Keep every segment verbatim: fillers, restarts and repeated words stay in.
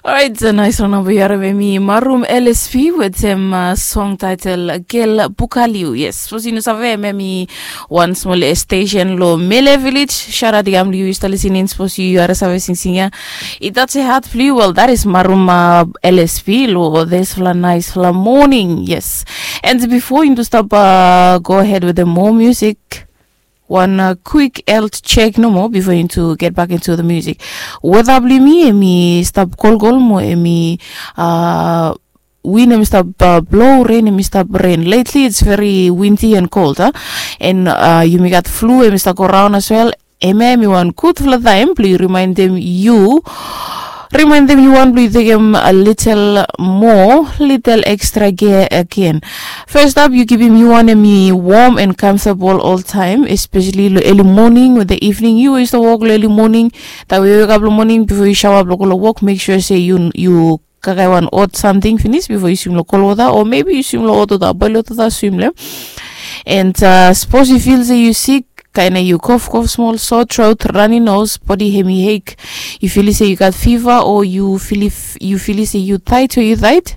Orait, nais rana blong yu harim em i Marum L S P wetem song taetel Gel Bukaliu. Yes, sapos yu no save, em em i wan smol stesen long Mele Village. Sharat i kam long yu, yu stap lisening, sapos yu harim save singsing ya. I tasim hat blong yu, well, that is Marum L S P long disfala naisfala moning. Yes. And before yu stap go ahead wetem moa musik, wan kwik health check nomo before yu get back into the music. Weta blong yumi em i stap kolkol mo em i win em i stap blo, ren em i stap ren. Lately it's very windy and cold, a? And yumi gat flu em i stap go raon as well. Hemia em i wan gudfala taem blong yu rimaendem yu, rimaendem yu wan blong yu tekem a litel moa, litel extra gear agen. First up, yu kipim yu wan em i wom and comfortable oltaem, especially long eli moning o the evening. Yu we yu stap wok long eli moning, taem we yu wekap long moning bifo yu saoa blong go long wok, mek sua se yu kakae wan hot samting finis bifo yu swim long kolwota, o maybe yu swim long hotwota, boilwota, swim long hem. And sapos yu fil se yu sik, kaen yu kofkof smol, sore throat, runny nose, bodi hemi ache, yu filim se yu gat fiva, o yu filim se yu taet, o yu taet,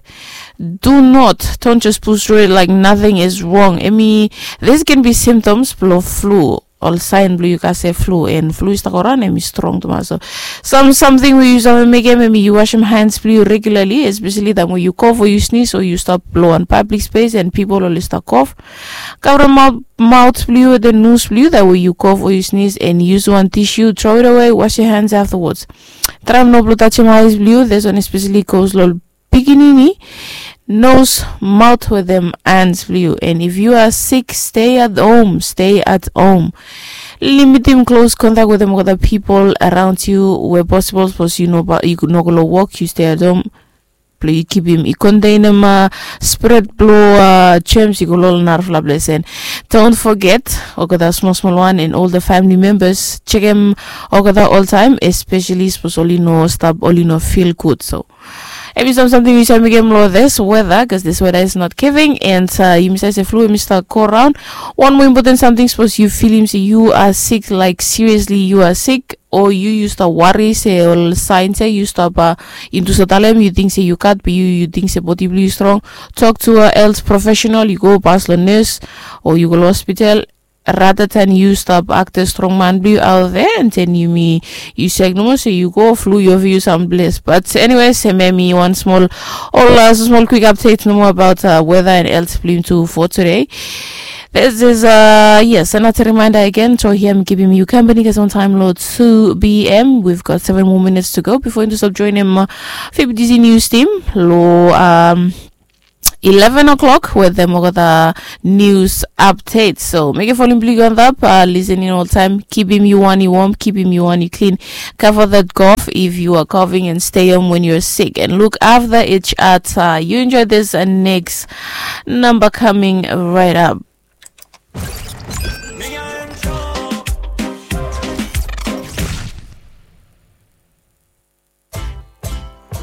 do not, don't just push through it like nothing is wrong. Hemi, this can be symptoms blong flu. Ol saen blong yu gat se flu, and flu i stap go raon, hemi strong tumas. So sam samting we yu save mekem hemi yu wasem hands blong yu regularly, especially taem we yu kof o yu snis o yu stap long wan public space and pipol oli stap kof. Kavrem maot blong yu wetem nos blong yu taem we yu kof o yu snis, and yusum wan tissue, throw it away, wash your hands afterwards. Traem no blong tajem eyes blong yu, this one especially goes long pikinini, nos, maot wetem hans blong yu. And if yu are sick, stay at home, stay at home. Limitim close contact wetem olgeta pipol around yu we posibol, sapos yu no go long wok, yu stay at home blong yu kipim, yu kontenem spred blong jems i go long ol narafala ples. And don't forget olgeta smolsmol wan and ol famili membas, jekem olgeta oltaem, especially sapos oli no stap, oli no fil gud. So hemi sam samting yu save mekem long this weather, cause this weather is not giving. And yumi save se flu hemi stap go raon. Wan moa impoten samting, sapos yu filim se yu are sick, like seriously yu are sick, o yu, yu stap wari se ol saens ya, yu stap intus talem, yu ting se yu gat, be yu, yu ting se bodi blong yu strong, tok to a health professional, yu go pas long nes, o yu go long hospital, rather than yu stap aktem strongman blong yu out there, and then yumi, yu sek nomo se yu go flu yu ova yu samples. But anyways, hemia hemi wan smol, ol smol kwik update nomo about weather and health blong yumi tu for today. This is, yes, another reminder again. So hia mi givim yu kampani kasem taem long two p.m. We've got seven more minutes to go before yu stap joinim F B T C news team long eleven o'clock wetem olgeta news update. So mekem volume blong yu go antap, lisening oltaem, kipim yu wan i wom, kipim yu wan i klin. Cover that cough if you are coughing, and stay home when you're sick, and look after each other. You enjoy this next number coming right up.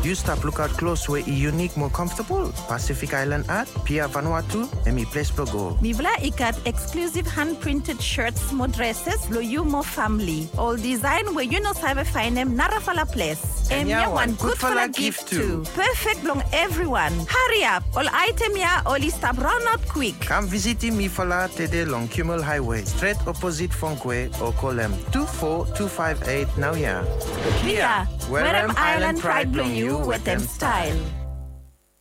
Yu stap lukaot klos we i yunik mo comfortable? Pacific Island Art, Pia Vanuatu, hemi ples blong go. Mifala i gat exclusive hand printed shirts mo dresses blong yu mo famili. Ol design we yu no save faenem narafala ples. Hemia wan gudfala gift tu. Perfect blong evriwan. Hariap, ol aetem ya oli stap raonaot kwik. Kam visitim mifala tede long Kimmel Highway, stret oposit Fongkwe, o kolem two four two five eight naoia. Pia, werem island pride blong yu wetem style.